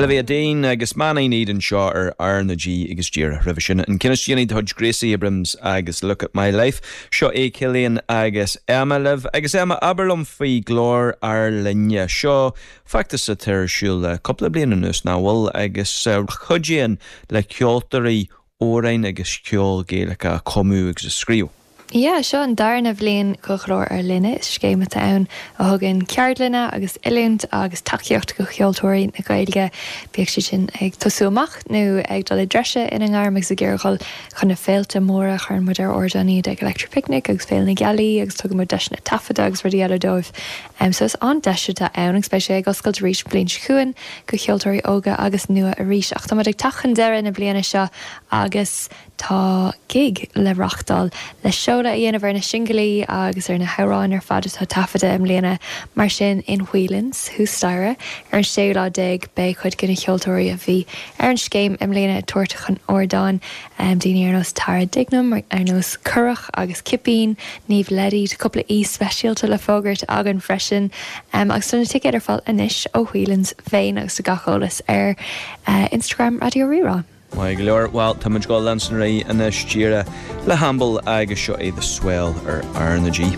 Olivia Dean agus Man I Need anseo ar R na G agus díreach roimhe sin an ceann is déanaí de chuid Gracie Abrams agus Look at My Life. Seo é Cillian agus Emma libh. Agus Emma, abair liom faoi Glór Ár Linne. Seo feachtas atá ar siúl le cúpla bliain anuas, nach bhfuil, agus a chuidíonn le ceoltóirí amhráin agus ceol Gaelach a chumadh agus a scríobh. Yeah, seo an darna bhliain do Ghlór Ár Linne. Is scéim atá ann a thugann ceardlanna agus oiliúint agus tacaíocht do cheoltóirí na Gaeilge, bíodh siad sin ag tosú amach nó ag dul i dtreise ina ngairm agus ag iarraidh dhul chun na féilte móra. Cuireann muid ar ardán iad ag Electric Picnic agus Féile na Gealaí agus tugann muid deiseanna taifeadta agus rudaí eile dóibh. So is an-deis atá ann agus beidh sé ag oscailt arís an bhliain seo chugainn do cheoltóirí óga agus nua arís. Ach tá muid ag teacht chun deireadh na bliana seo agus Tá gig le reachtáil le seoladh a dhéanamh ar na singilí agus ar na hamhráin ar fad atá taifeadta i mbliana, mar sin in Whelan's, thuas staighre, ar an séú lá déag beidh cuid de na ceoltóirí a bhí ar an scéim i mbliana ag tabhairt chun ardáin, daoine ar nós Tara Dignam, ar nós Currach agus Cipín, Niamh Leddy, tá cúpla aoi speisialta le fógairt againn freisin agus tá na ticéid ar fáil anois ó Whelan's féin agus tá gach eolas ar Instagram Raidió Rí-Rá. Maith go leor, bhuel, tá muid ag dul leanstan ar aghaidh anois díreach le hAmble agus seo é The Swell ar R na G.